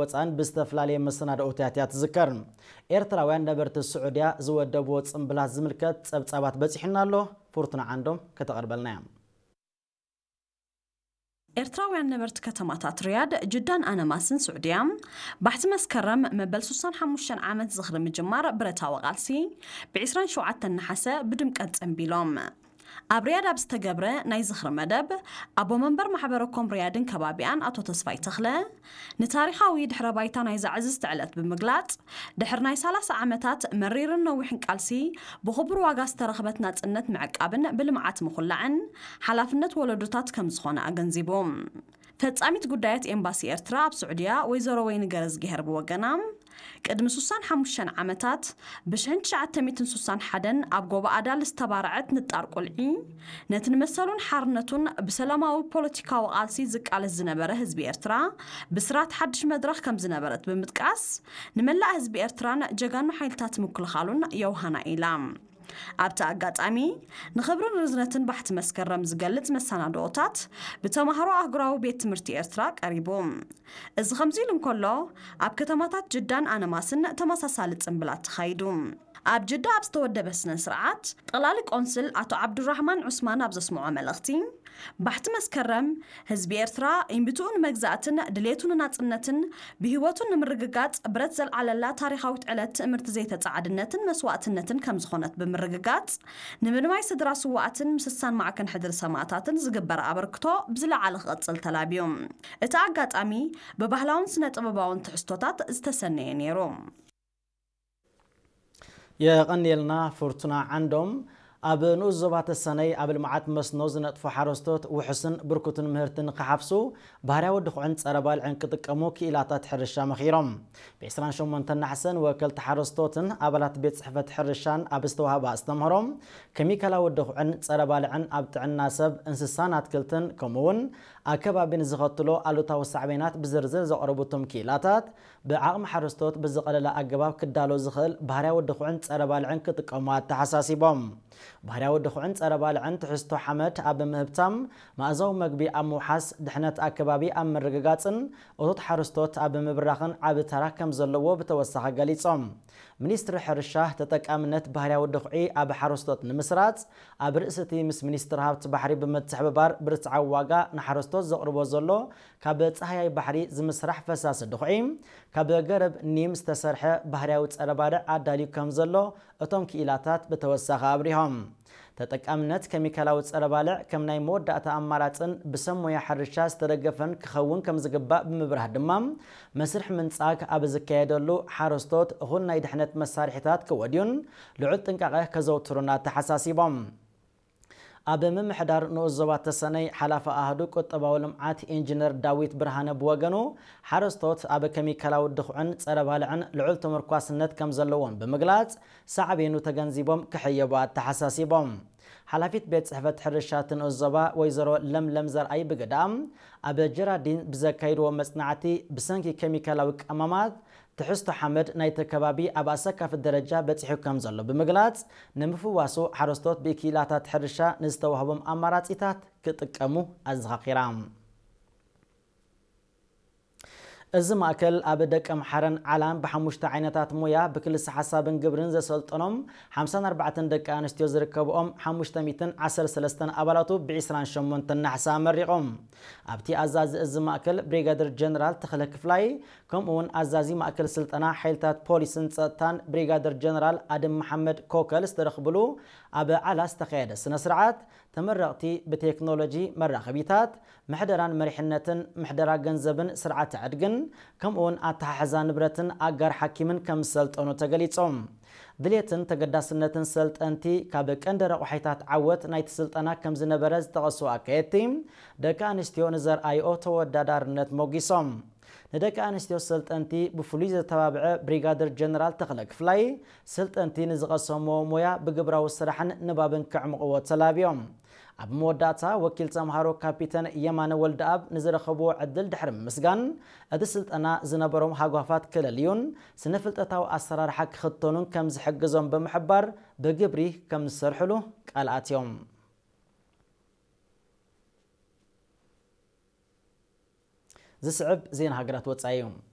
ወፃን ብዝተፈላለየ መሰናድኦታት እያ ትዝከር። ኤርትራውያን ነበርቲ ስዑድያ ዝወደብዎ ጽምብላት ዝምልከት ጸብጻባት በጺሑና ኣሎ። ፍርቱና ዓንዶም ከተቐርበልና እያ። ኤርትራውያን ነበርቲ ከተማታት ሪያድ፣ ጅዳን ኣነማስን ስዑድያ፣ ባሕቲ መስከረም መበል ሱሳን ሓሙሽተን ዓመት ዝኽሪ ምጅማር ብረታዊ ቃልሲ፣ ብ ዒስራን ሸውዓተን ነሓሰ ብድምቀት ጸንቢሎም። ኣብ ሪያድ ኣብ ዝተገብረ ናይ ዝኽሪ መደብ፣ ኣቦ መንበር ማሕበረ ኮም ሪያድን ከባቢኣን ኣቶ ተስፋይ ተኽለ፣ ንታሪኻዊ ድሕረ ባይታ ናይዛ ዕዝዝቲ ዕለት ብምግላጽ፣ ድሕሪ ናይ ሰላሳ ዓመታት መሪርን ነዊሕን ቃልሲ፣ ብኽቡር ዋጋ ዝተረኽበት ናጽነት ምዕቃብን ብልምዓት ምኹላዕን፣ ሓላፍነት ወለዶታት ከም ዝኾነ ኣገንዚቡ። ፈጻሚት ጉዳያት ኤምባሲ ኤርትራ ኣብ ስዑድያ ወይዘሮ ወይኒ ገረዝግሄር ብወገና፣ ቅድሚ ሱሳን ሓሙሽተን ዓመታት፣ ብሽሕን ትሽዓተ ሚእትን ሱሳን ሓደን ኣብ ጎቦ ኣዳል ዝተባረዐት ንጣር ቁልዒ፣ ነቲ ንመሰሉን ሓርነቱን ብሰላማዊ ፖለቲካዊ ቃልሲ ዝቃለስ ዝነበረ ህዝቢ ኤርትራ፣ ብስራት ሓድሽ መድረኽ ከም ዝነበረት ብምጥቃስ፣ ንመላእ ህዝቢ ኤርትራን ጀጋኑ ሓይልታት ምክልኻሉን የውሃና ኢላ። ኣብቲ ኣጋጣሚ፣ ንኽብርን ርዝነትን ባሕቲ መስከረም ዝገልጽ መሰናድኦታት ብተማሃሮ ኣህጉራዊ ቤት ትምህርቲ ኤርትራ ቀሪቡ። እዚ ከምዚ ኢሉ እንከሎ፣ ኣብ ከተማታት ጅዳን ኣነማስን ተመሳሳሊ ጽምብላት ተኻይዱ። ኣብ ጅዳ ኣብ ዝተወደበ ስነ ስርዓት፣ ጠቕላሊ ቆንስል ኣቶ ዓብዱራህማን ዑስማን ኣብ ዘስምዖ መልእኽቲ፣ ባሕቲ መስከረም፣ ህዝቢ ኤርትራ ኢምብትኡ ንመግዛእትን ድሌቱ ንናጽነትን ብህይወቱ ንምርግጋጽ ብረት ዘልዓለላ ታሪኻዊት ዕለት ትእምርቲ ዘይተጻዓድነትን መስዋእትነትን ከም ዝኾነት ብምርግጋጽ፣ ንምልማይ ስድራ ስዋኣትን ምስሳን ማዕከን ሕድሪ ሰማእታትን ዝግበር ኣበርክቶ ብዝለዓለ ክቕጽል ተላብዩ። እቲ ኣጋጣሚ ብባህላውን ስነ ጥበባውን ትሕዝቶታት ዝተሰነየ ነይሩ። የቐንየልና ፍርቱና ዓንዶም። ኣብ ንኡስ ዞባ ተሰነይ ኣብ ልምዓት መስኖ ዝነጥፉ ሓረስቶት ውሑስን ብርኩትን ምህርቲ ንክሓፍሱ ባህርያዊ ድኹዕን ጸረ ባልዕን ክጥቀሙ ክኢላታት ሕርሻ መኺሮም። ብ ዒስራን ሸሞንተን ነሓሰ ንወከልቲ ሓረስቶትን ኣባላት ቤት ጽሕፈት ሕርሻን ኣብ ዝተዋህበ ኣስተምህሮ፣ ኬሚካላዊ ድኹዕን ጸረ ባልዕን ኣብ ጥዕና ሰብ፣ እንስሳን ኣትክልትን ከምኡ እውን ኣከባቢ ንዝኸትሎ ኣሉታዊ ሳዕቤናት ብዝርዝር ዘቕረቡ እቶም ክኢላታት፣ ብዓቕሚ ሓረስቶት ብዝቐለለ ኣገባብ ክዳሎ ዝኽእል ባህርያዊ ድኹዕን ጸረ ባልዕን ክጥቀሙ ኣተሓሳሲቦም። ባህርያዊ ድኹዕን ጸረ ባልዕን ትሕዝቶ ሓመድ ኣብ ምህብታም፣ መኣዛዊ መግቢ ኣብ ምውሓስ፣ ድሕነት ኣከባቢ ኣብ ምርግጋጽን እቶት ሓረስቶት ኣብ ምብራኽን ዓቢ ተራ ከም ዘለዎ ብተወሳኺ ገሊጾም። ሚኒስትሪ ሕርሻ፣ ተጠቃምነት ባህርያዊ ድኹዒ ኣብ ሓረስቶት ንምስራጽ፣ ኣብ ርእሲ እቲ ምስ ሚኒስትሪ ሃብቲ ባሕሪ ብምትሕብባር ብርትዓዊ ዋጋ ንሓረስቶት ዘቕርቦ ዘሎ ካብ ጻህያይ ባሕሪ ዝምስራሕ ፈሳሲ ድኹዒ፣ ካብ ገረብ ኒም ዝተሰርሐ ባህርያዊ ጸረ ባልዕ ኣዳልዩ ከም ዘሎ እቶም ክኢላታት ብተወሳኺ ኣብሪሆም። ተጠቃምነት ኬሚካላዊ ጸረ ባልዕ ከም ናይ መወዳእታ ኣማራጽን ብሰብ ሞያ ሕርሻ ዝተደገፈን ክኸውን ከም ዝግባእ ብምብራህ ድማ፣ መስርሕ ምንጻግ ኣብ ዝካየደሉ ሓረስቶት እኹል ናይ ድሕነት መሳርሒታት ከወድዩን ልዑል ጥንቃቐ ከዘውትሩን ኣተሓሳሲቦም። ኣብ ምምሕዳር ንኡስ ዞባ ተሰነይ ሓላፊ ኣሃዱ ቁጠባዊ ልምዓት ኢንጂነር ዳዊት ብርሃነ ብወገኑ፣ ሓረስቶት ኣብ ኬሚካላዊ ድኹዕን ጸረ ባልዕን ልዑል ተመርኳስነት ከም ዘለዎም ብምግላጽ፣ ሳዕቤኑ ተገንዚቦም ክሕየቡ ኣተሓሳሲቦም። ሓላፊት ቤት ጽሕፈት ሕርሻ እቲ ንኡስ ዞባ ወይዘሮ ለምለም ዘርኣይ ብግዳ፣ ኣብ ጀራዲን ብዘካይድዎ መጽናዕቲ፣ ብሰንኪ ኬሚካላዊ ቀመማት ትሕዝቶ ሓመድ ናይቲ ከባቢ ኣብ ኣሰካፊ ደረጃ በጺሑ ከም ዘሎ ብምግላጽ፣ ንምፍዋሱ ሓረስቶት ብክኢላታት ሕርሻ ንዝተዋህቦም ኣማራጺታት ክጥቀሙ ኣዘኻኺራ። እዚ ማእከል ኣብ ደቀምሓረን ዓላን ብሓሙሽተ ዓይነታት ሞያ ብክልሰ ሓሳብን ግብርን ዘሰልጠኖም ሓምሳን ኣርባዕተን ደቂ ኣንስትዮ ዝርከብኦም ሓሙሽተ ሚእትን ዓሰርተ ሰለስተን ኣባላቱ ብ ዒስራን ሸሞንተን ነሓሰ ኣመሪቖም። ኣብቲ ኣዛዚ እዚ ማእከል ብሪጋደር ጀነራል ተኽለ ክፍላይ፣ ከምኡ እውን ኣዛዚ ማእከል ስልጠና ሓይልታት ፖሊስን ጸጥታን ብሪጋደር ጀነራል ኣደም መሓመድ ኮከል ዝተረኽብሉ ኣብ ዓላ ዝተኻየደ ስነ ስርዓት፣ ተመረቕቲ ብቴክኖሎጂ መራኸቢታት፣ ምሕደራን መሪሕነትን፣ ምሕደራ ገንዘብን ስርዓተ ዕድግን፣ ከምኡውን ኣተሓሕዛ ንብረትን ኣጋር ሓኪምን ከም ዝሰልጠኑ ተገሊጾም። ድሌትን ተገዳስነትን ሰልጠንቲ ካብ ቀንዲ ረቑሒታት ዓወት ናይቲ ስልጠና ከም ዝነበረ ዝጠቐሱ ኣካየድቲ፣ ደቂ ኣንስትዮ ንዘርኣይኦ ተወዳዳርነት ሞጊሶም። ንደቂ ኣንስትዮ ሰልጠንቲ ብፍሉይ ዘተባብዐ ብሪጋደር ጀነራል ተኽለ ክፍላይ፣ ሰልጠንቲ ንዝቐሰምዎ ሞያ ብግብራዊ ስራሕን ንባብን ከዕምቕዎ ተላብዮም። ኣብ መወዳእታ፣ ወኪል ተምሃሮ ካፒተን የማነ ወልደኣብ ንዝረኸብዎ ዕድል ድሕሪ ምምስጋን፣ እቲ ስልጠና ዝነበሮም ሃጓፋት ክለልዩን ስነ-ፍልጠታዊ ኣሰራርሓ ክኽተኑን ከም ዝሕግዞም ብምሕባር፣ ብግብሪ ከም ዝሰርሕሉ ቃል ኣትዮም። ዝስዕብ ዜና ሃገራት ወጻኢ እዩ።